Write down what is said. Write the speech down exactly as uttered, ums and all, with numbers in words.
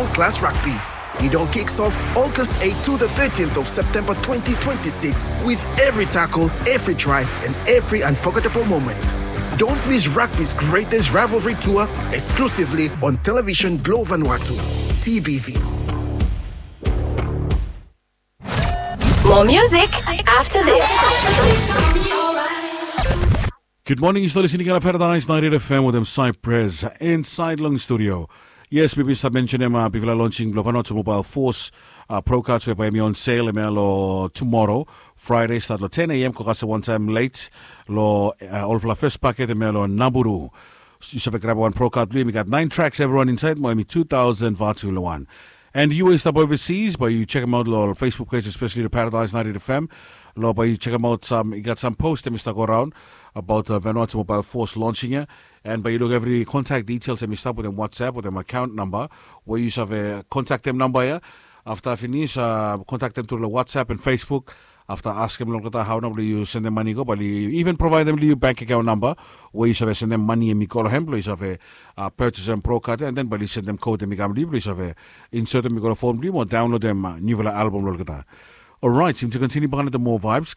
class rugby. It all kicks off August eighth to the thirteenth of September twenty twenty-six with every tackle, every try, and every unforgettable moment. Don't miss rugby's greatest rivalry tour exclusively on television Globe Vanuatu, T B V. More music after this. Gud moning, yu stap listening long Paradise ninety-eight F M wetem Cypress insaed long studio. Yes, mi bin stap mensenem bifala lonsing blong Vanuatu Mobile Force pro cards we bae hemi on sel hemia long tumora Fraede, stat long ten a.m. Go kasem wantaem let long olfala fes paket hemia long Naburu. Yu save grabem wan pro card blong yu, hemi gat naen tracks evriwan insaed mo hemi tu taosen vatu long wan. And yu we yu stap overseas, bae yu sekemaot long Facebook page, especially the Paradise ninety-eight F M. Long bae yu sekemaot sam, i gat sam post hemi stap go raon abaot Vanuatu Mobile Force lonsing ya. And bae yu luk evri kontak details hemi stap wetem WhatsApp wetem akaon namba we yu save kontaktem namba ya. Afta finis, kontaktem tru long WhatsApp and Facebook. Afta askem long olgeta hao nao blong yu sendem mane i go, bae oli even provaedem long yu bank akaon namba we yu save sendem mane hemi go long hem blong yu save purchasem pro card ya, and then bae oli sendem code hemi kam long yu blong yu save insertem i go long phone blong yu mo downloadem niufala album long olgeta. Alright, yumi tu kontiniu bakegen wetem moa vibes.